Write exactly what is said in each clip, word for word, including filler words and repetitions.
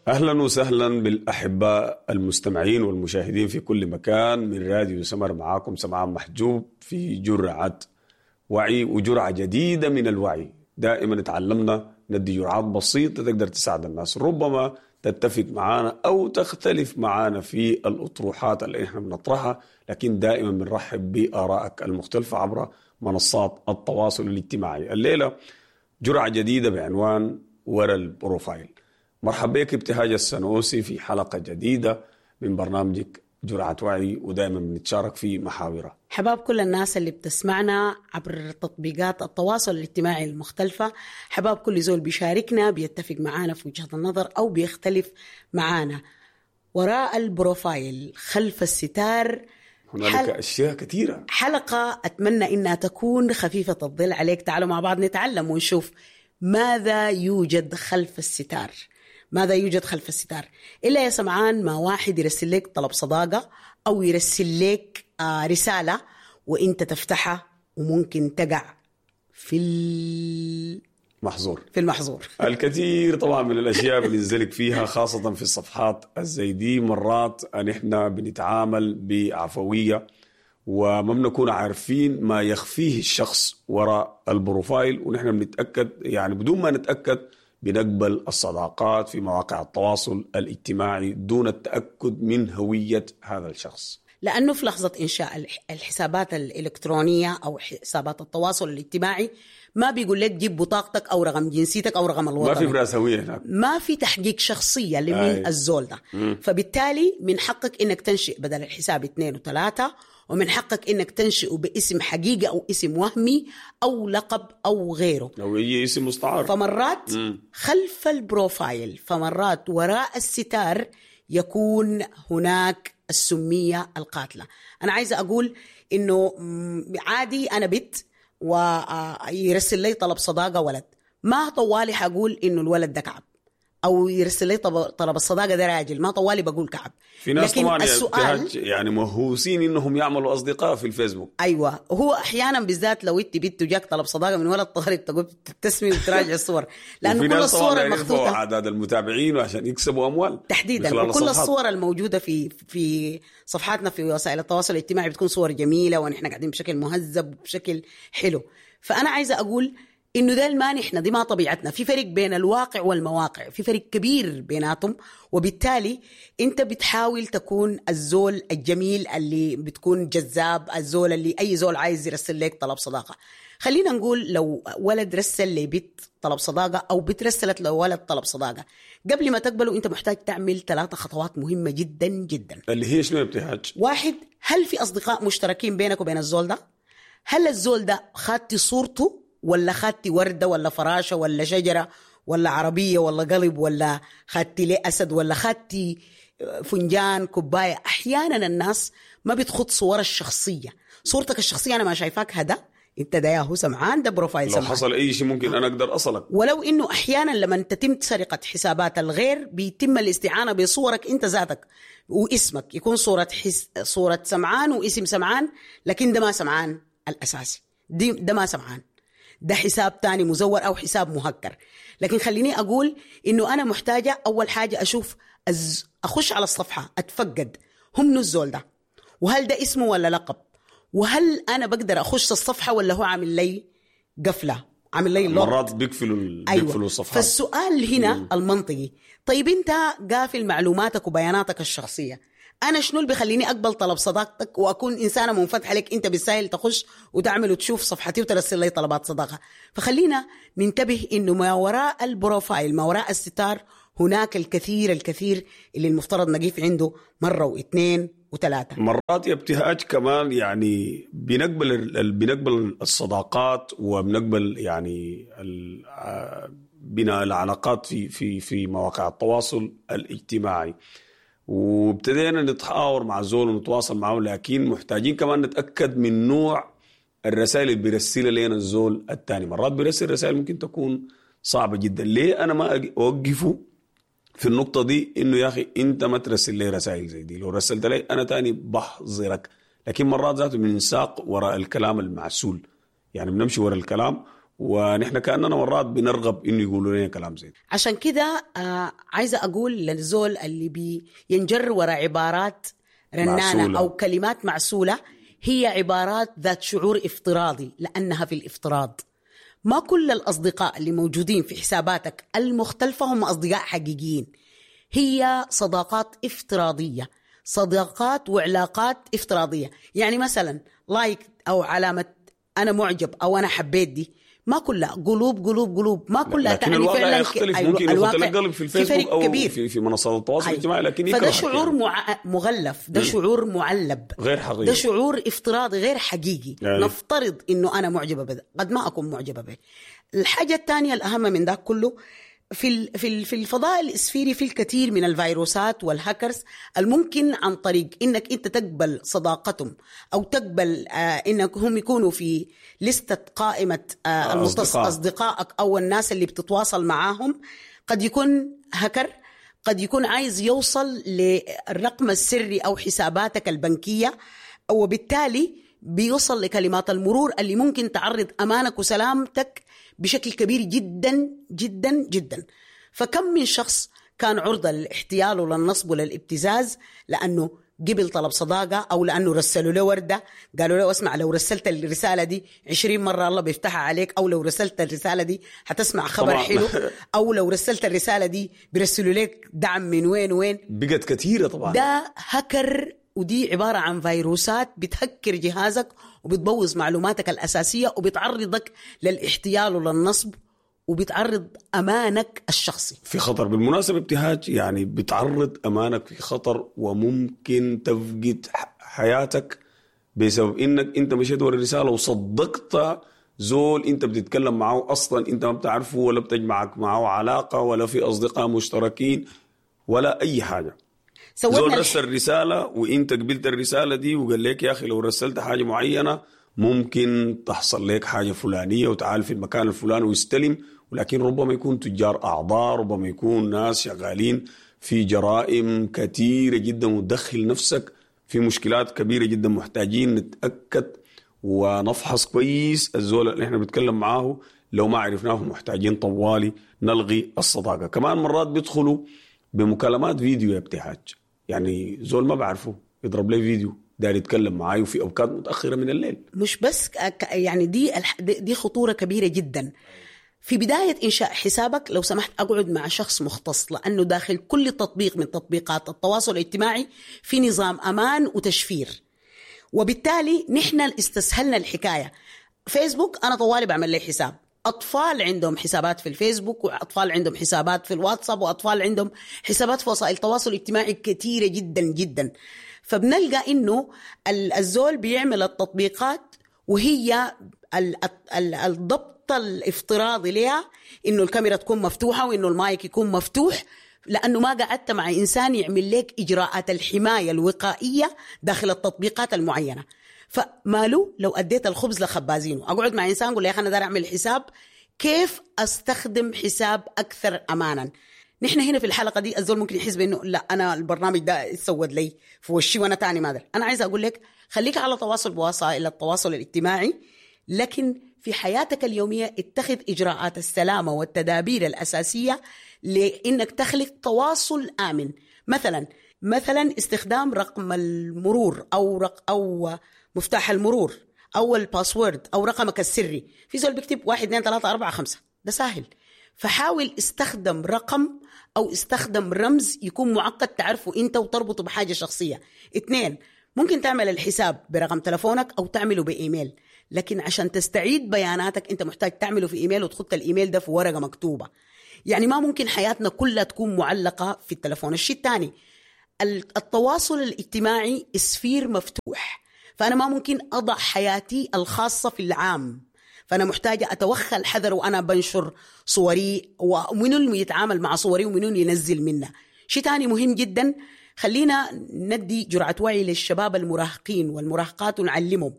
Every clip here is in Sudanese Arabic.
اهلا وسهلا بالاحباء المستمعين والمشاهدين في كل مكان من راديو سمر. معاكم سمعان محجوب في جرعة وعي وجرعه جديدة من الوعي. دائما تعلمنا ندي جرعات بسيطة تقدر تساعد الناس، ربما تتفق معانا او تختلف معانا في الاطروحات اللي احنا بنطرحها، لكن دائما بنرحب بارائك المختلفة عبر منصات التواصل الاجتماعي. الليلة جرعة جديدة بعنوان ورا ال profile. مرحبا بك ابتهاج السنوسي في حلقة جديدة من برنامجك جرعة وعي، ودائما بنتشارك في محاورها. حباب كل الناس اللي بتسمعنا عبر تطبيقات التواصل الاجتماعي المختلفة، حباب كل زول بيشاركنا بيتفق معانا في وجهة النظر أو بيختلف معانا. وراء ال profile، خلف الستار، هنالك حل... أشياء كثيرة. حلقة أتمنى إنها تكون خفيفة الظل عليك. تعالوا مع بعض نتعلم ونشوف ماذا يوجد خلف الستار. ماذا يوجد خلف الستار؟ إلا يا سمعان ما واحد يرسل لك طلب صداقة أو يرسل لك آه رسالة وإنت تفتحها وممكن تقع في المحظور. في المحظور الكثير طبعا من الأشياء بننزلك فيها، خاصة في الصفحات الزي دي. مرات نحن بنتعامل بعفوية وما بنكون عارفين ما يخفيه الشخص وراء ال profile، ونحن بنتأكد يعني بدون ما نتأكد بنقبل الصداقات في مواقع التواصل الاجتماعي دون التأكد من هوية هذا الشخص. لأنه في لحظة إنشاء الحسابات الإلكترونية أو حسابات التواصل الاجتماعي ما بيقول لك جيب بطاقتك أو رقم جنسيتك أو رقم الوطني، ما في براس هوية هناك، ما في تحقيق شخصية لمين الزول ده. مم. فبالتالي من حقك إنك تنشئ بدل الحساب اثنين وثلاثة، ومن حقك إنك تنشئ باسم حقيقي أو اسم وهمي أو لقب أو غيره أو أي اسم مستعار. فمرات مم. خلف ال profile، فمرات وراء الستار يكون هناك السمية القاتلة. أنا عايزة أقول إنه عادي أنا بنت ويرسل لي طلب صداقة ولد، ما طوالي حقول إنه الولد ده كعب، أو يرسل لي طلب الصداقة ده راجل، ما طوالي بقول كعب. في ناس لكن طبعا السؤال يعني مهووسين إنهم يعملوا أصدقاء في الفيسبوك. أيوة، هو أحيانا بالذات لو أنت بنت وجاك طلب صداقة من ولد طارق تقول تبتسمي وتراجع الصور، لأنه كل الصور المخطوطة أعداد المتابعين وعشان يكسبوا أموال تحديدا، وكل الصور الموجودة في في صفحاتنا في وسائل التواصل الاجتماعي بتكون صور جميلة ونحن قاعدين بشكل مهذب وبشكل حلو. فأنا عايزة أقول إنه ده ما نحن، دي ما طبيعتنا. في فرق بين الواقع والمواقع، في فرق كبير بيناتهم، وبالتالي أنت بتحاول تكون الزول الجميل اللي بتكون جذاب، الزول اللي أي زول عايز يرسل لك طلب صداقة. خلينا نقول لو ولد رسل لبنت طلب صداقة أو بنت رسلت لولد طلب صداقة، قبل ما تقبله أنت محتاج تعمل ثلاثة خطوات مهمة جدا جدا. اللي هي شنو يا ابتهاج؟ واحد، هل في أصدقاء مشتركين بينك وبين الزول ده؟ هل الزول ده خدتي صورته ولا خدتي وردة ولا فراشة ولا شجرة ولا عربية ولا قلب ولا خدتي ليه أسد ولا خدتي فنجان كوباية؟ أحيانا الناس ما بتخط صور الشخصية. صورتك الشخصية أنا ما شايفاك، هذا أنت ده ياهو سمعان، ده profile سمعان. لو حصل أي شيء ممكن أنا أقدر أصلك. ولو إنه أحيانا لما تتم سرقة حسابات الغير بيتم الاستعانة بصورك أنت ذاتك واسمك، يكون صورة حس... صورة سمعان واسم سمعان، لكن ده ما سمعان الأساسي، دي ده ما سمعان، ده حساب تاني مزور أو حساب مهكر. لكن خليني أقول إنه أنا محتاجة أول حاجة أشوف أز... أخش على الصفحة أتفقد هم منو الزول ده، وهل ده اسمه ولا لقب، وهل أنا بقدر أخش الصفحة ولا هو عامل لي قفلة، عامل لي lock. مرات بيقفلوا ال... أيوة. بيقفلوا الصفحة. فالسؤال هنا مم. المنطقي، طيب أنت قافل معلوماتك وبياناتك الشخصية، أنا شنو اللي بيخليني أقبل طلب صداقتك وأكون إنسانة منفتحة لك؟ أنت بالسهل تخش وتعمل وتشوف صفحتي وترسل لي طلبات صداقة. فخلينا ننتبه إنه ما وراء ال profile، ما وراء الستار، هناك الكثير الكثير اللي المفترض نقيف عنده مرة واثنين وثلاثة. مرات يا ابتهاج كمان يعني بنقبل بنقبل الصداقات وبنقبل يعني بناء العلاقات في في في مواقع التواصل الاجتماعي، وابتدينا نتحاور مع زول ونتواصل معه، لكن محتاجين كمان نتأكد من نوع الرسائل اللي بيرسلها لنا الزول الثاني. مرات بيرسل رسائل ممكن تكون صعبة جدا. ليه أنا ما أوقفه في النقطة دي إنه يا أخي أنت ما ترسل لي رسائل زي دي، لو رسلت لي أنا تاني بحظرك. لكن مرات ذاته بننساق وراء الكلام المعسول، يعني بنمشي وراء الكلام ونحن كاننا مرات بنرغب انه يقولوا لنا كلام زي ده. عشان كده آه عايزه اقول للزول اللي بينجر وراء عبارات رنانه معسولة. او كلمات معسوله، هي عبارات ذات شعور افتراضي لانها في الافتراض. ما كل الاصدقاء اللي موجودين في حساباتك المختلفة هم اصدقاء حقيقيين، هي صداقات افتراضية، صداقات وعلاقات افتراضية. يعني مثلا like او علامة انا معجب او انا حبيت، دي ما كلها قلوب قلوب قلوب، ما كلها لكن تعني الواقع فعلا ك- يختلف. أيوة، ممكن يحط الواقع لك قلب في الفيسبوك فرق او كبير. في في منصات التواصل أيوة. الاجتماعي، لكن فده يكرهك شعور يعني. مع... مغلف، ده شعور معلب غير حقيقي، ده شعور افتراضي غير حقيقي. يعني. نفترض انه انا معجبه بده، قد ما اكون معجبه به. الحاجة الثانية الاهم من ده كله، في ال- في ال- في الفضاء الاسفيري في الكثير من الفيروسات والهاكرز الممكن عن طريق انك انت تقبل صداقتهم او تقبل آه انك هم يكونوا في لستة قائمة آه المتص... أصدقاء. اصدقائك او الناس اللي بتتواصل معاهم. قد يكون هاكر، قد يكون عايز يوصل للرقم السري او حساباتك البنكية، وبالتالي بيوصل لكلمات المرور اللي ممكن تعرض امانك وسلامتك بشكل كبير جدا جدا جدا. فكم من شخص كان عرضة للاحتيال وللنصب وللابتزاز لأنه قبل طلب صداقة، أو لأنه رسلوا له وردة قالوا له اسمع لو رسلت الرسالة دي عشرين مرة الله بيفتحها عليك، أو لو رسلت الرسالة دي حتسمع خبر طبعاً. حلو، أو لو رسلت الرسالة دي بيرسلوا لك دعم من وين وين. بقت كثيرة طبعا. ده هكر، ودي عبارة عن فيروسات بتهكر جهازك وبتبوظ معلوماتك الأساسية وبتعرضك للاحتيال وللنصب وبتعرض أمانك الشخصي في خطر. بالمناسبة ابتهاج، يعني بتعرض أمانك في خطر وممكن تفقد ح- حياتك بسبب إنك أنت مشيت ورا الرسالة وصدقت زول أنت بتتكلم معه أصلا أنت ما بتعرفه ولا بتجمعك معه علاقة ولا في أصدقاء مشتركين ولا أي حاجة. سوينا زول الح- رسل رسالة وانت قبلت الرسالة دي وقال لك يا أخي لو رسلت حاجة معينة ممكن تحصل لك حاجة فلانية وتعال في المكان الفلاني ويستلم، ولكن ربما يكون تجار أعضاء، ربما يكون ناس شغالين في جرائم كثيرة جدا، وتدخل نفسك في مشكلات كبيرة جدا. محتاجين نتأكد ونفحص كويس الزول اللي احنا بنتكلم معاه، لو ما عرفناه محتاجين طوالي نلغي الصداقة. كمان مرات بيدخلوا بمكالمات فيديو يا ابتهاج، يعني زول ما بعرفه يضرب لي فيديو داير يتكلم معاي وفي اوقات متاخرة من الليل. مش بس ك- يعني دي الح- دي دي خطورة كبيرة جدا. في بداية إنشاء حسابك لو سمحت أقعد مع شخص مختص، لأنه داخل كل تطبيق من تطبيقات التواصل الاجتماعي في نظام أمان وتشفير، وبالتالي نحن استسهلنا الحكاية. فيسبوك أنا طوالي بعمل لي حساب، أطفال عندهم حسابات في الفيسبوك، وأطفال عندهم حسابات في الواتساب، وأطفال عندهم حسابات في وسائل التواصل الاجتماعي كثيرة جدا جدا. فبنلقى إنه ال- الزول بيعمل التطبيقات وهي ال- ال- الضبط الافتراضي لها إنه الكاميرا تكون مفتوحة وإنه المايك يكون مفتوح، لأنه ما قعدت مع إنسان يعمل لك إجراءات الحماية الوقائية داخل التطبيقات المعينة. فماله لو أديت الخبز لخبازينه، أقعد مع إنسان أقول له يا أخي أنا داير أعمل حساب، كيف أستخدم حساب أكثر أمانا؟ نحن هنا في الحلقة دي الزول ممكن يحس بأنه لا أنا البرنامج ده اتسود لي في وشي وأنا تاني ما أدري. أنا عايزة أقول لك خليك على تواصل بوسائل التواصل الاجتماعي، لكن في حياتك اليومية اتخذ إجراءات السلامة والتدابير الأساسية لإنك تخلق تواصل آمن. مثلا مثلا استخدام رقم المرور أو رق أو مفتاح المرور أو ال password أو رقمك السري. في زول بيكتب واحد اثنين ثلاثة أربعة خمسة، ده سهل. فحاول استخدم رقم أو استخدم رمز يكون معقد تعرفه أنت وتربطه بحاجة شخصية. اثنين، ممكن تعمل الحساب برقم تلفونك أو تعمله بإيميل، لكن عشان تستعيد بياناتك أنت محتاج تعمله في إيميل وتحط الإيميل ده في ورقة مكتوبة. يعني ما ممكن حياتنا كلها تكون معلقة في التلفون. الشيء الثاني، التواصل الاجتماعي sphere مفتوح، فأنا ما ممكن أضع حياتي الخاصة في العام، فأنا محتاجة أتوخى الحذر وأنا بنشر صوري ومنو اللي يتعامل مع صوري ومنو اللي ينزل منها. شيء ثاني مهم جدا، خلينا ندي جرعة وعي للشباب المراهقين والمراهقات ونعلمهم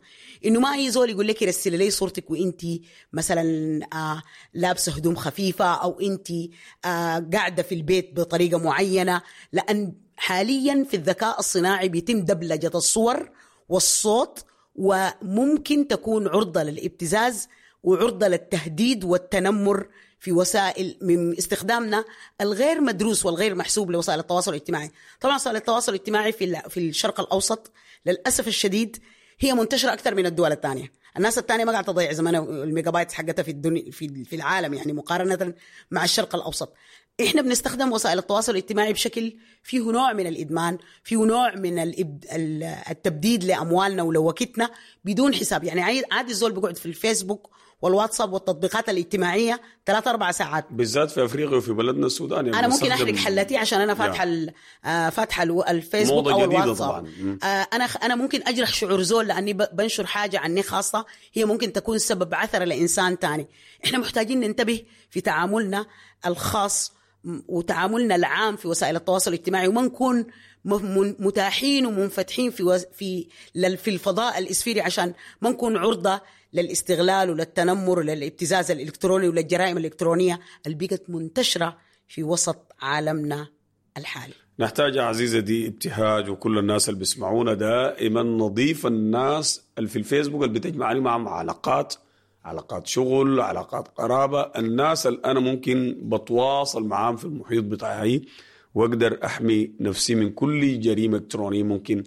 إنه ما أي زول يقول لك رسل لي صورتك وإنتي مثلا آه لابسة هدوم خفيفة أو إنتي آه قاعدة في البيت بطريقة معينة، لأن حاليا في الذكاء الصناعي بيتم دبلجة الصور والصوت وممكن تكون عرضة للابتزاز وعرضة للتهديد والتنمر في وسائل من استخدامنا الغير مدروس والغير محسوب لوسائل التواصل الاجتماعي. طبعا وسائل التواصل الاجتماعي في في الشرق الأوسط للأسف الشديد هي منتشرة أكثر من الدول الثانية. الناس الثانية ما قاعدة تضيع زمانها الميجابايت حقتها في الدنيا في في العالم، يعني مقارنة مع الشرق الأوسط. احنا بنستخدم وسائل التواصل الاجتماعي بشكل فيه نوع من الإدمان، فيه نوع من التبديد لأموالنا ولوقتنا بدون حساب. يعني عادي الزول بيقعد في الفيسبوك والواتساب والتطبيقات الاجتماعية ثلاث أربع ساعات، بالذات في أفريقيا وفي بلدنا السودان. يعني أنا ممكن أحرق حلتي عشان أنا فاتحة فاتحة الفيسبوك أو الواتساب. أنا أنا ممكن أجرح شعور زول لأني بنشر حاجة عني خاصة هي ممكن تكون سبب عثرة لإنسان تاني. إحنا محتاجين ننتبه في تعاملنا الخاص وتعاملنا العام في وسائل التواصل الاجتماعي، وما نكون متاحين ومنفتحين في في في الفضاء الإسفيري عشان ما نكون عرضة للاستغلال وللتنمر وللابتزاز الإلكتروني وللجرائم الإلكترونية اللي بقت منتشرة في وسط عالمنا الحالي. نحتاج عزيزتي ابتهاج وكل الناس اللي بيسمعونا دائما نضيف الناس اللي في الفيسبوك اللي بتجمعني معهم علاقات، علاقات شغل، علاقات قرابة، الناس اللي أنا ممكن بتواصل معاهم في المحيط بتاعي وأقدر أحمي نفسي من كل جريمة إلكترونية ممكن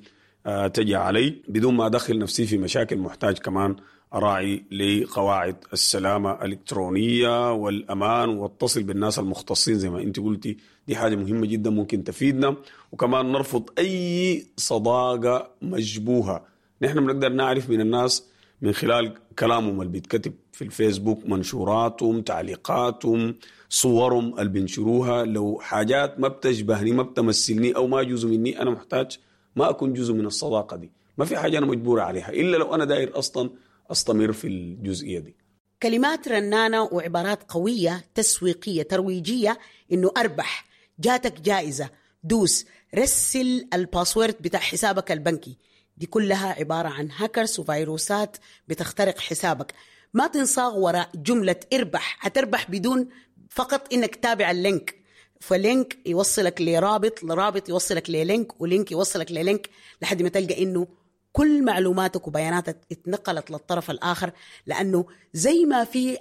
تجي علي بدون ما أدخل نفسي في مشاكل. محتاج كمان أراعي لقواعد السلامة الإلكترونية والأمان، واتصل بالناس المختصين زي ما أنت قلتي، دي حاجة مهمة جدا ممكن تفيدنا. وكمان نرفض أي صداقة مشبوهة. نحن بنقدر نعرف من الناس من خلال كلامهم اللي بيتكتب في الفيسبوك، منشوراتهم، تعليقاتهم، صورهم اللي بينشروها. لو حاجات ما بتشبهني، ما بتمثلني، أو ما جزء مني، أنا محتاج ما أكون جزء من الصداقة دي. ما في حاجة أنا مجبورة عليها إلا لو أنا داير أصلا أستمر في الجزئية دي. كلمات رنانة وعبارات قوية تسويقية ترويجية، إنه أربح، جاتك جائزة، دوس، رسل ال password بتاع حسابك البنكي، دي كلها عبارة عن هاكرز وفيروسات بتخترق حسابك. ما تنصاغ وراء جملة اربح، هتربح بدون فقط إنك تابع ال link، ف link يوصلك لرابط، لرابط يوصلك ل link، و link يوصلك ل link، لحد ما تلقى إنه كل معلوماتك وبياناتك اتنقلت للطرف الآخر. لأنه زي ما في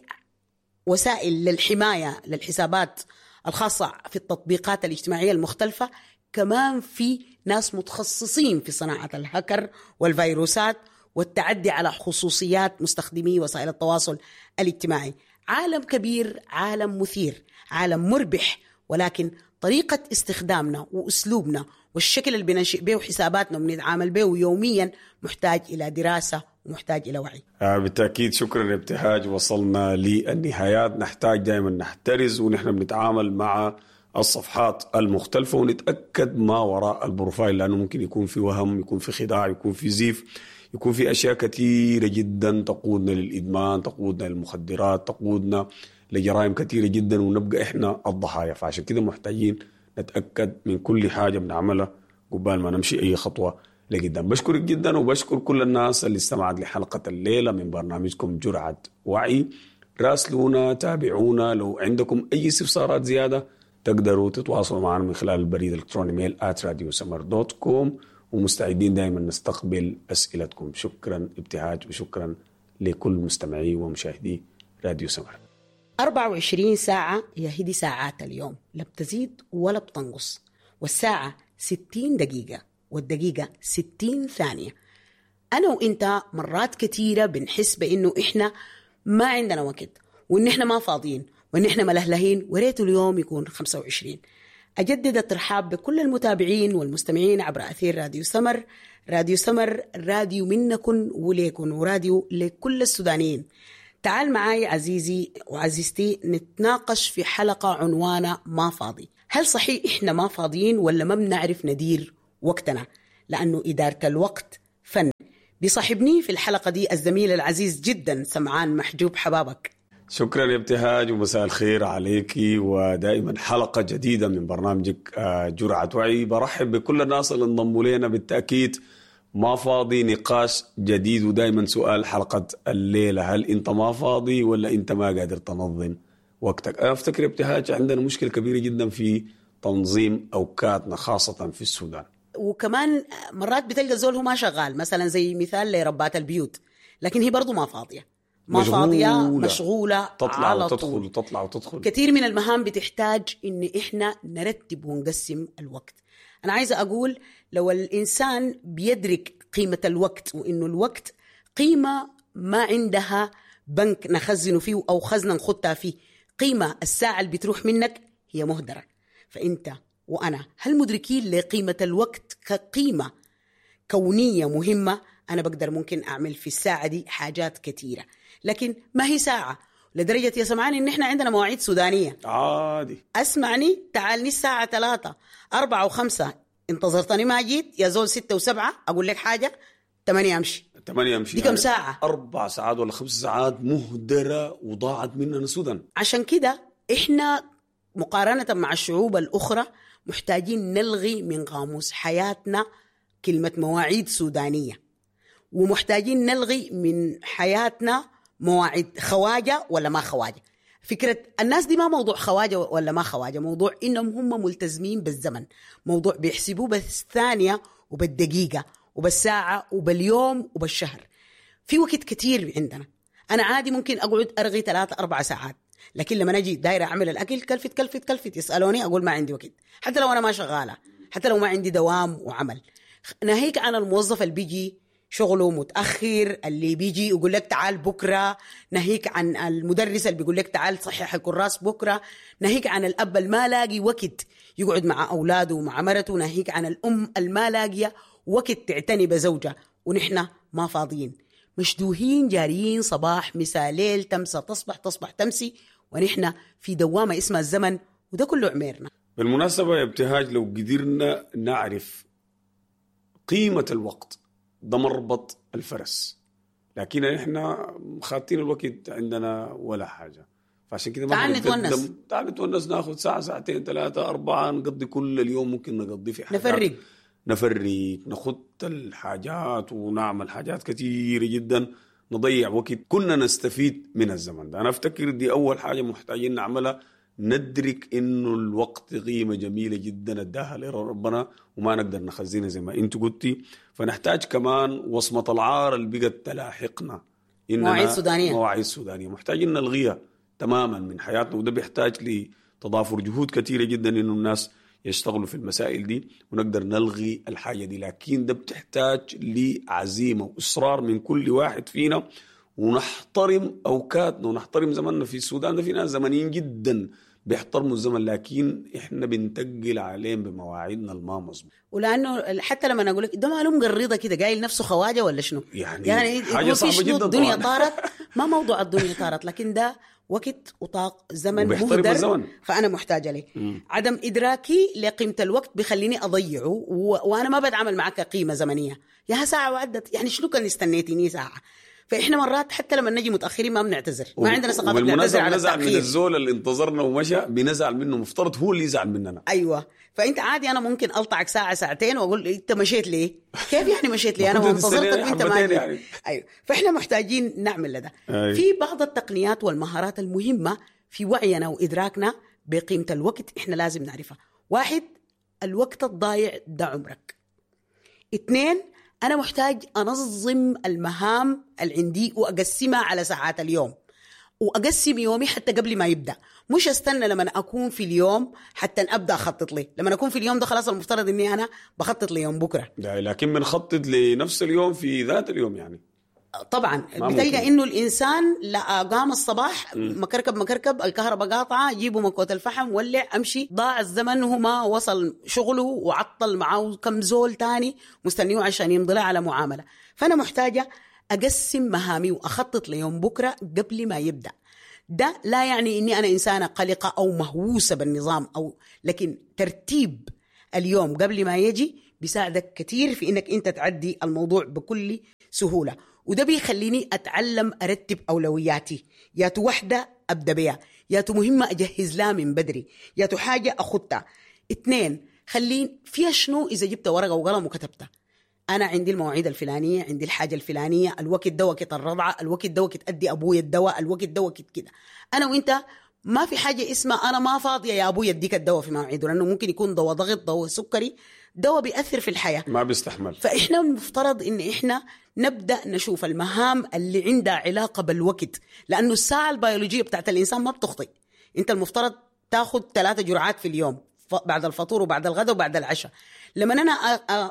وسائل للحماية للحسابات الخاصة في التطبيقات الاجتماعية المختلفة، كمان في ناس متخصصين في صناعة الهكر والفيروسات والتعدي على خصوصيات مستخدمي وسائل التواصل الاجتماعي. عالم كبير، عالم مثير، عالم مربح، ولكن طريقة استخدامنا وأسلوبنا والشكل اللي بننشئ به حساباتنا وبنتعامل به يوميا محتاج إلى دراسة ومحتاج إلى وعي. آه بالتأكيد. شكرا ابتهاج، وصلنا للنهايات. نحتاج دائما نحترز ونحن بنتعامل مع الصفحات المختلفة ونتأكد ما وراء ال profile، لأنه ممكن يكون في وهم، يكون في خداع، يكون في زيف، يكون في أشياء كثيرة جدا تقودنا للإدمان، تقودنا للمخدرات، تقودنا لجرائم كثيرة جدا، ونبقى إحنا الضحايا. فعشان كده محتاجين نتأكد من كل حاجة بنعملها قبل ما نمشي أي خطوة لقدام. بشكرك جدا وبشكر كل الناس اللي استمعت لحلقة الليلة من برنامجكم جرعة وعي. راسلونا، تابعونا، لو عندكم أي استفسارات زيادة تقدروا تتواصلوا معنا من خلال البريد الإلكتروني mail آت راديو سمر دوت كوم، ومستعدين دائما نستقبل أسئلتكم. شكرا ابتهاج، وشكرا لكل مستمعي ومشاهدي راديو سمر. أربعة وعشرين ساعة هي هدي ساعات اليوم، لا بتزيد ولا بتنقص، والساعة ستين دقيقة والدقيقة ستين ثانية. أنا وإنت مرات كتيرة بنحس بإنه إحنا ما عندنا وقت، وإن إحنا ما فاضيين، وإن إحنا ملهلهين، وريت اليوم يكون خمسة وعشرين. أجدد الترحاب بكل المتابعين والمستمعين عبر أثير راديو سمر. راديو سمر راديو منكن وليكن، وراديو لكل السودانيين. تعال معاي عزيزي وعزيزتي نتناقش في حلقة عنوانها ما فاضي. هل صحيح إحنا ما فاضيين ولا ما بنعرف ندير وقتنا؟ لأنه إدارة الوقت فن. بيصاحبني في الحلقة دي الزميل العزيز جدا سمعان محجوب. حبابك. شكرا يا ابتهاج ومساء الخير عليك، ودائما حلقة جديدة من برنامجك جرعة وعي. برحب بكل الناس اللي انضموا لنا. بالتأكيد ما فاضي نقاش جديد، ودائما سؤال حلقة الليلة: هل انت ما فاضي ولا انت ما قادر تنظم وقتك؟ أنا أفتكر ابتهاج عندنا مشكلة كبيرة جدا في تنظيم أوقاتنا خاصة في السودان. وكمان مرات بتلقى زول هو ما شغال، مثلا زي مثال لربات البيوت، لكن هي برضو ما فاضية. ما مشغولة. فاضية، مشغولة تطلع على وتدخل طول. وتطلع وتدخل. كثير من المهام بتحتاج إن إحنا نرتب ونقسم الوقت. أنا عايزة أقول لو الإنسان بيدرك قيمة الوقت، وإنه الوقت قيمة ما عندها بنك نخزنه فيه أو خزنة نخطها فيه، قيمة الساعة اللي بتروح منك هي مهدرة. فأنت وأنا هل مدركين لقيمة الوقت كقيمة كونية مهمة؟ أنا بقدر ممكن أعمل في الساعة دي حاجات كثيرة، لكن ما هي ساعة لدرجة يا سمعاني إن إحنا عندنا مواعيد سودانية عادي. أسمعني، تعالني الساعة ثلاثة أربعة وخمسة، انتظرتني ما جيت يا زول ستة وسبعة، أقول لك حاجة ثمانية أمشي. ثمانية أمشي. دي كم ساعة؟ أربع ساعات ولا خمس ساعات مهدرة وضاعت مننا سودان. عشان كده إحنا مقارنة مع الشعوب الأخرى محتاجين نلغي من قاموس حياتنا كلمة مواعيد سودانية، ومحتاجين نلغي من حياتنا مواعيد خواجة ولا ما خواجة. فكرة الناس دي ما موضوع خواجة ولا ما خواجة، موضوع إنهم هم ملتزمين بالزمن، موضوع بيحسبوه بالثانية وبالدقيقة وبالساعة وباليوم وبالشهر. في وقت كتير عندنا، أنا عادي ممكن أقعد أرغي ثلاثة أربع ساعات، لكن لما أجي دايرة أعمل الأكل كلفت كلفت كلفت يسألوني أقول ما عندي وقت، حتى لو أنا ما شغالة، حتى لو ما عندي دوام وعمل. ناهيك عن الموظف اللي بيجي شغله متأخر، اللي بيجي يقول لك تعال بكرة، ناهيك عن المدرس اللي بيقول لك تعال صحح الكراس بكرة، ناهيك عن الأب اللي ما لاقي وقت يقعد مع أولاده ومع مرته، ناهيك عن الأم اللي ما لاقية وقت تعتني بزوجها. ونحن ما فاضيين، مشدوهين جاريين صباح مساء ليل، تمسى تصبح تصبح تمسي، ونحن في دوامة اسمها الزمن، وده كله عميرنا. بالمناسبة يا ابتهاج، لو قدرنا نعرف قيمة الوقت ده مربط الفرس، لكن احنا خاطين الوقت عندنا ولا حاجة، فعشان كده ما تعال نتونس، تعال نتونس، ناخذ ساعة ساعتين ثلاثة أربعة، نقضي كل اليوم ممكن نقضي في حاجات، نفرق نفرق نخط الحاجات ونعمل حاجات كثيرة جدا، نضيع وقت كنا نستفيد من الزمن ده. أنا أفتكر دي أول حاجة محتاجين نعملها، ندرك إنه الوقت قيمة جميلة جدا اداها لربنا وما نقدر نخزنها زي ما أنت قلتي. فنحتاج كمان وصمة العار اللي بقت تلاحقنا، مواعيد سودانية، مواعيد سودانية محتاجين نلغيها تماما من حياتنا، وده بيحتاج لتضافر جهود كثيرة جدا إنه الناس يشتغلوا في المسائل دي ونقدر نلغي الحاجة دي. لكن ده بتحتاج لعزيمة وإصرار من كل واحد فينا، ونحترم أوقاتنا ونحترم زمننا. في السودان ده في ناس زمنيين جدا بيحترموا الزمن، لكن إحنا بنتقل عليهم بمواعيدنا الما مظبوط. ولأنه حتى لما أقول لك ده معلوم قريضة كده، قايل نفسه خواجة ولا شنو يعني، يعني حاجة صعبة جدا. الدنيا طارت، ما موضوع الدنيا طارت، لكن ده وقت وطاق زمن مهدر، فأنا محتاجة ليه. عدم إدراكي لقيمة الوقت بيخليني أضيعه، و... وأنا ما بتعامل معك قيمة زمنية. يا ساعة وعدت، يعني شنو كان استنيتيني ساعة؟ فإحنا مرات حتى لما نجي متأخرين ما بنعتذر، ما عندنا ثقافة نعتذر على التأخير. من الزول اللي انتظرنا ومشى بنزعل منه، مفترض هو اللي يزعل مننا. أيوة، فأنت عادي أنا ممكن ألطعك ساعة ساعتين وأقول أنت مشيت ليه؟ كيف يعني مشيت ليه؟ أنا ما انتظرتك وأنت ما جيت. يعني. أيوة، فإحنا محتاجين نعمل ده. أيوة. في بعض التقنيات والمهارات المهمة في وعينا وإدراكنا بقيمة الوقت إحنا لازم نعرفها. واحد، الوقت الضايع ده عمرك. اثنين، أنا محتاج أنظم المهام اللي عندي وأقسمها على ساعات اليوم، وأقسم يومي حتى قبل ما يبدأ، مش أستنى لما أكون في اليوم حتى أبدأ أخطط لي. لما أكون في اليوم ده خلاص المفترض إني أنا بخطط ليوم بكرة، لكن بنخطط لنفس اليوم في ذات اليوم يعني. طبعا بتلقى إنه الإنسان لا قام الصباح مكركب مكركب، الكهرباء قاطعة، جيبوا مكوة الفحم ولع أمشي، ضاع الزمن وما وصل شغله وعطل معه كم زول تاني مستنيه عشان يمضي على معاملة. فأنا محتاجة أقسم مهامي وأخطط ليوم بكرة قبل ما يبدأ. ده لا يعني إني أنا إنسانة قلقة أو مهووسة بالنظام أو، لكن ترتيب اليوم قبل ما يجي بيساعدك كثير في إنك أنت تعدي الموضوع بكل سهولة. وده بيخليني أتعلم أرتب أولوياتي، ياتو وحدة أبدأ بيها، ياتو مهمة أجهز لها من بدري، ياتو حاجة أخدتها. اثنين، خليني فيها شنو إذا جبت ورقة وقلم وكتبتها، أنا عندي المواعيد الفلانية، عندي الحاجة الفلانية، الوقت ده وقت الرضعة، الوقت ده وقت أدي أبوي الدواء، الوقت ده وقت كده. أنا وإنت ما في حاجة اسمها أنا ما فاضية يا أبوي يديك الدواء في مواعيده، لأنه ممكن يكون دواء ضغط، دواء سكري، دواء بيأثر في الحياة، ما بيستحمل. فإحنا المفترض إن إحنا نبدأ نشوف المهام اللي عندها علاقة بالوقت، لأنه الساعة البيولوجية بتاعت الإنسان ما بتخطئ. أنت المفترض تاخد ثلاثة جرعات في اليوم، بعد الفطور وبعد الغداء وبعد العشاء. لما أنا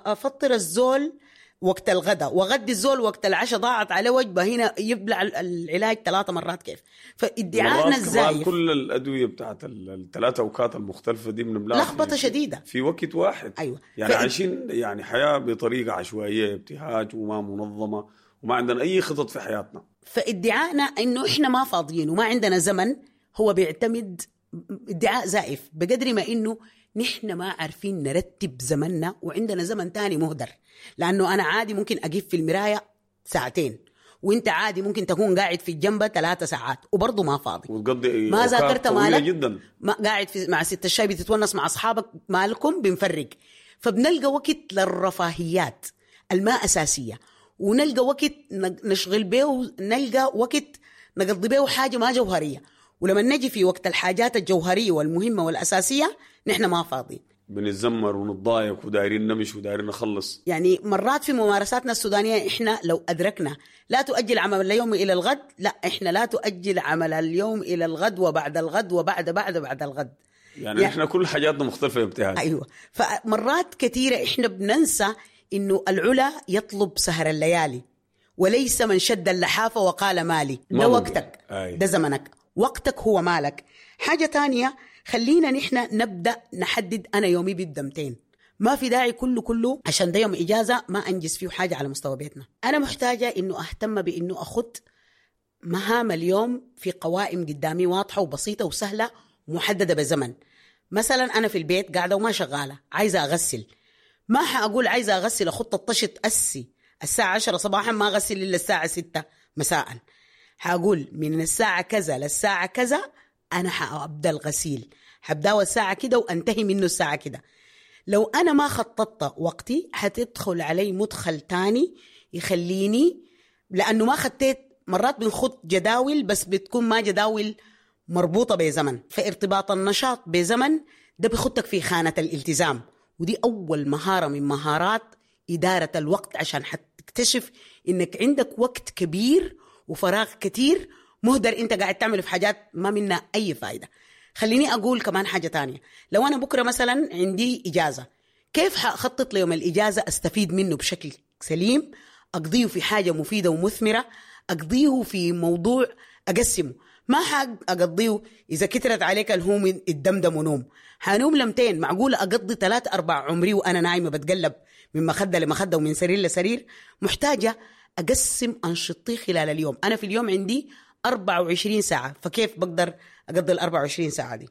أفطر الزول وقت الغداء وغدي الزول وقت العشاء، ضاعت عليه وجبة، هنا يبلع العلاج ثلاثة مرات كيف؟ فادعائنا الزايف كل الأدوية بتاعت الثلاثة أوقات المختلفة دي بنبلعها لخبطة شديدة في وقت واحد. أيوة. يعني فإد... عايشين يعني حياة بطريقة عشوائية، ابتهاج وما منظمة، وما عندنا أي خطط في حياتنا. فادعائنا إنه إحنا ما فاضيين وما عندنا زمن هو بيعتمد ادعاء زائف، بقدر ما إنه نحن ما عارفين نرتب زمننا وعندنا زمن تاني مهدر. لأنه أنا عادي ممكن أقف في المراية ساعتين، وانت عادي ممكن تكون قاعد في الجنبة ثلاثة ساعات وبرضه ما فاضي، وتقضي ما ذاكرت مالك جدا، ما قاعد في مع ست الشاي بتتونس مع أصحابك، مالكم بنفرق. فبنلقى وقت للرفاهيات الما أساسية، ونلقى وقت نشغل به، نلقى وقت نقضي به حاجة ما جوهرية. ولما نجي في وقت الحاجات الجوهرية والمهمة والأساسية نحن ما فاضيين، بنتذمر ونتضايق ودايرين نمشي ودايرين نخلص. يعني مرات في ممارساتنا السودانية إحنا لو أدركنا لا تؤجل عمل اليوم إلى الغد، لا إحنا لا تؤجل عمل اليوم إلى الغد وبعد الغد وبعد بعد بعد الغد. يعني, يعني إحنا كل حاجاتنا مختلفة يا ابتهاج. أيوة. فمرات كثيرة إحنا بننسى إنه العلا يطلب سهر الليالي وليس من شد اللحافة وقال مالي. ده وقتك، ده زمنك، وقتك هو مالك. حاجة تانية، خلينا نحن نبدأ نحدد أنا يومي بيبدأ متين. ما في داعي كله كله عشان ده يوم إجازة ما أنجز فيه حاجة على مستوى بيتنا. أنا محتاجة إنه أهتم بإنه أخذ مهام اليوم في قوائم قدامي واضحة وبسيطة وسهلة ومحددة بزمن. مثلا أنا في البيت قاعدة وما شغالة، عايزة أغسل، ما حأقول عايزة أغسل أخط الطشت أسي الساعة عشرة صباحا ما أغسل إلا الساعة ستة مساء. حأقول من الساعة كذا للساعة كذا أنا حأبدأ الغسيل، حبدأه الساعة كده وأنتهي منه الساعة كده. لو أنا ما خططت وقتي حتدخل علي مدخل تاني يخليني، لأنه ما خطيت. مرات بنخط جداول بس بتكون ما جداول مربوطة بزمن، فارتباط النشاط بزمن ده بيخطك في خانة الالتزام، ودي أول مهارة من مهارات إدارة الوقت، عشان حتكتشف إنك عندك وقت كبير وفراغ كتير مهدر انت قاعد تعمل في حاجات ما منها اي فايدة. خليني اقول كمان حاجة تانية، لو انا بكرة مثلا عندي اجازة، كيف حأخطط ليوم الاجازة استفيد منه بشكل سليم، اقضيه في حاجة مفيدة ومثمرة، اقضيه في موضوع اقسمه، ما حأقضيه اذا كترت عليك الهوم الدمدم ونوم. حنوم لمتين؟ معقولة اقضي ثلاث اربع عمري وانا نايمة بتقلب من مخدة لمخدة ومن سرير لسرير؟ محتاجة أقسم أنشطتي خلال اليوم. أنا في اليوم عندي أربعة وعشرين ساعة، فكيف بقدر أقضي الأربعة وعشرين ساعة دي؟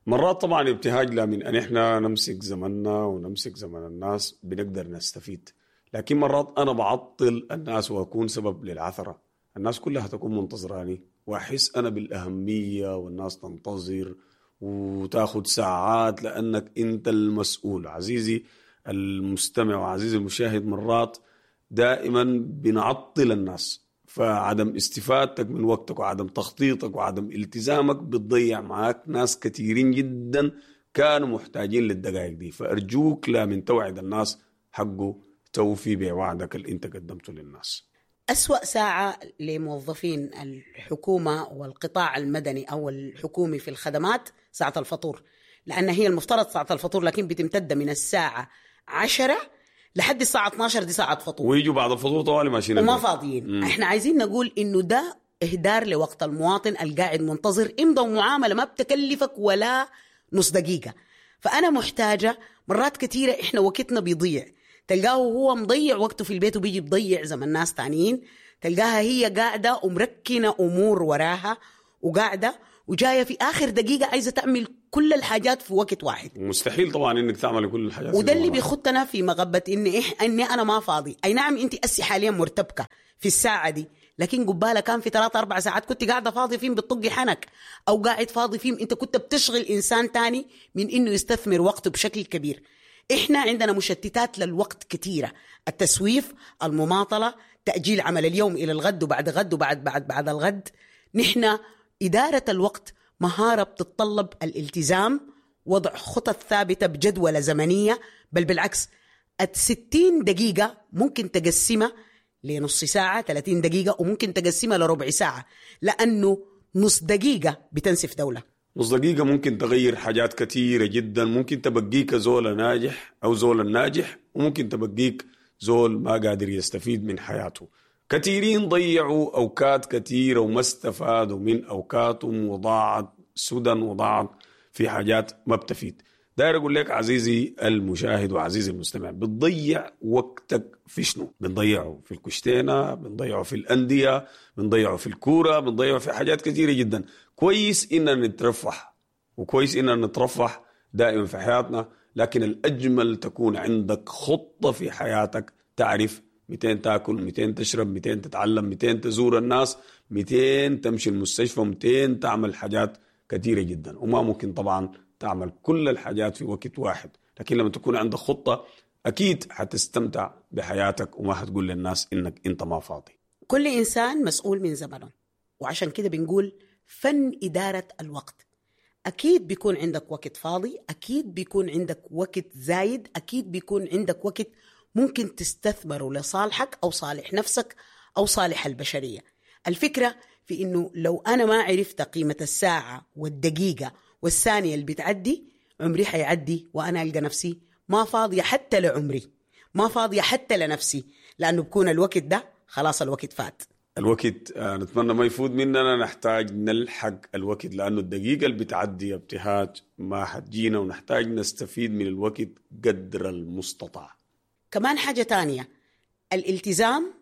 مرات طبعا ابتهاج لا من أن إحنا نمسك زمننا ونمسك زمن الناس بنقدر نستفيد، لكن مرات أنا بعطل الناس وأكون سبب للعثرة. الناس كلها تكون منتظراني وأحس أنا بالأهمية، والناس تنتظر وتاخد ساعات لأنك أنت المسؤول. عزيزي المستمع وعزيزي المشاهد، مرات دائما بنعطل الناس، فعدم استفادتك من وقتك وعدم تخطيطك وعدم التزامك بتضيع معاك ناس كثيرين جدا كانوا محتاجين للدقائق دي. فأرجوك لا من توعد الناس حقه توفي بوعدك اللي انت قدمته للناس. أسوأ ساعة لموظفين الحكومة والقطاع المدني أو الحكومي في الخدمات ساعة الفطور، لأن هي المفترض ساعة الفطور لكن بتمتد من الساعة عشرة لحد الساعة اثنا عشر، دي ساعة فطور، ويجوا بعد الفطور طوالي ماشيين وما فاضيين. مم. احنا عايزين نقول انه ده اهدار لوقت المواطن القاعد منتظر امضى ومعاملة ما بتكلفك ولا نص دقيقة. فأنا محتاجة، مرات كثيرة احنا وقتنا بيضيع، تلقاه هو مضيع وقته في البيت وبيجي بضيع زمن ناس تانيين، تلقاها هي قاعدة ومركنة أمور وراها وقاعدة وجاية في آخر دقيقة عايزة تعمل كل الحاجات في وقت واحد. مستحيل طبعا إنك تعمل كل الحاجات، وده اللي بيخطنا في مغبة إن إح إني أنا ما فاضي. أي نعم أنت أسي حاليا مرتبكة في الساعة دي، لكن قبالة كان في ثلاثة أربع ساعات كنت قاعدة فاضي فيهم بتطقي حنك، أو قاعد فاضي فيهم أنت كنت بتشغل إنسان تاني من إنه يستثمر وقته بشكل كبير. إحنا عندنا مشتتات للوقت كثيرة، التسويف، المماطلة، تأجيل عمل اليوم إلى الغد وبعد غد وبعد بعد بعد الغد. نحن إدارة الوقت مهارة بتتطلب الالتزام، وضع خطط ثابتة بجدولة زمنية، بل بالعكس الستين دقيقة ممكن تقسمها لنص ساعة، ثلاثين دقيقة، وممكن تقسمها لربع ساعة، لأنه نص دقيقة بتنسف دولة. نص دقيقة ممكن تغير حاجات كثيرة جدا، ممكن تبقيك زول ناجح أو زول ناجح، وممكن تبقيك زول ما قادر يستفيد من حياته. كثيرين ضيعوا أوقات كثيرة وما استفادوا من أوقاتهم، وضاعت سدى وضاعت في حاجات ما بتفيد. داير أقول لك عزيزي المشاهد وعزيزي المستمع، بتضيع وقتك في شنو؟ بنضيعه في الكشتينة، بنضيعه في الأندية، بنضيعه في الكورة، بنضيعه في حاجات كثيرة جدا. كويس إننا نترفه، وكويس إننا نترفه دائما في حياتنا، لكن الأجمل تكون عندك خطة في حياتك، تعرف مئتين تاكل، مئتين تشرب، مئتين تتعلم، مئتين تزور الناس، مئتين تمشي المستشفى، مئتين تعمل حاجات كثيرة جدا. وما ممكن طبعا تعمل كل الحاجات في وقت واحد، لكن لما تكون عندك خطة أكيد حتستمتع بحياتك وما حتقول للناس إنك أنت ما فاضي. كل إنسان مسؤول من زمنه، وعشان كده بنقول فن إدارة الوقت. أكيد بيكون عندك وقت فاضي، أكيد بيكون عندك وقت زايد، أكيد بيكون عندك وقت ممكن تستثمره لصالحك أو صالح نفسك أو صالح البشرية. الفكرة في إنه لو أنا ما عرفت قيمة الساعة والدقيقة والثانية اللي بتعدي، عمري حيعدي وأنا ألقى نفسي ما فاضية حتى لعمري، ما فاضية حتى لنفسي، لأنه بكون الوقت ده خلاص الوقت فات. الوقت نتمنى ما يفوت مننا، نحتاج نلحق الوقت، لأنه الدقيقة اللي بتعدي ابتهاج ما حتجينا، ونحتاج نستفيد من الوقت قدر المستطاع. كمان حاجة تانية، الالتزام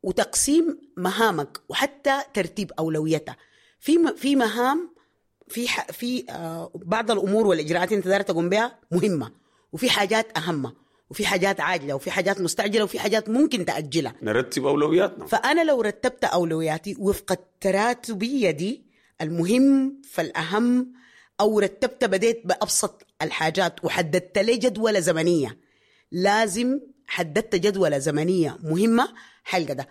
وتقسيم مهامك وحتى ترتيب أولويتها. في في مهام، في في بعض الأمور والإجراءات أنت داير تقوم بها مهمة، وفي حاجات أهم، وفي حاجات عاجلة، وفي حاجات مستعجلة، وفي حاجات ممكن تأجلها. نرتب أولوياتنا. فأنا لو رتبت أولوياتي وفق التراتبية دي، المهم فالأهم، أو رتبت بديت بأبسط الحاجات وحددت لي جدولة زمنية، لازم حددت جدولة زمنية مهمة حلقة ده.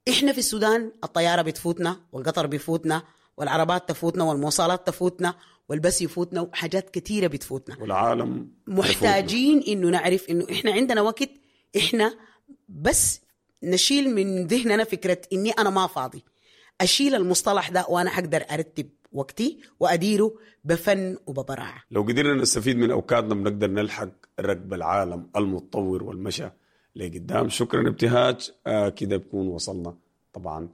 إحنا في السودان الطيارة بتفوتنا، والقطر بيفوتنا، والعربات تفوتنا، والمواصلات تفوتنا، والبس يفوتنا، وحاجات كثيرة بتفوتنا، والعالم محتاجين إنه نعرف إنه إحنا عندنا وقت. إحنا بس نشيل من ذهننا فكرة إني أنا ما فاضي، أشيل المصطلح ده وأنا حقدر أرتب وقتي وأديره بفن وببراعة. لو قدرنا نستفيد من أوقاتنا بنقدر نلحق ركب العالم المتطور والمشى لقدام. شكرا ابتهاج. آه كده بكون وصلنا طبعا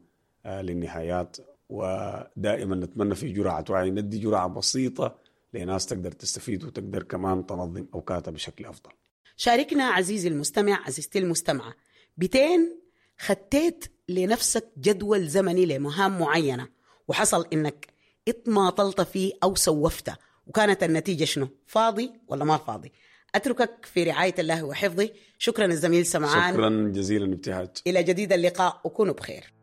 آه للنهايات، ودائما نتمنى في جرعة وعي ندي جرعة بسيطة لناس تقدر تستفيد وتقدر كمان تنظم أوقاتها بشكل أفضل. شاركنا عزيزي المستمع، عزيزتي المستمعة، بتين خطيت لنفسك جدول زمني لمهام معينة وحصل إنك اتماطلت فيه أو سوفته، وكانت النتيجة شنو؟ فاضي ولا ما فاضي؟ أتركك في رعاية الله وحفظه. شكرا الزميل سمعان، شكرا جزيلا ابتهاج. إلى جديد اللقاء وكونوا بخير.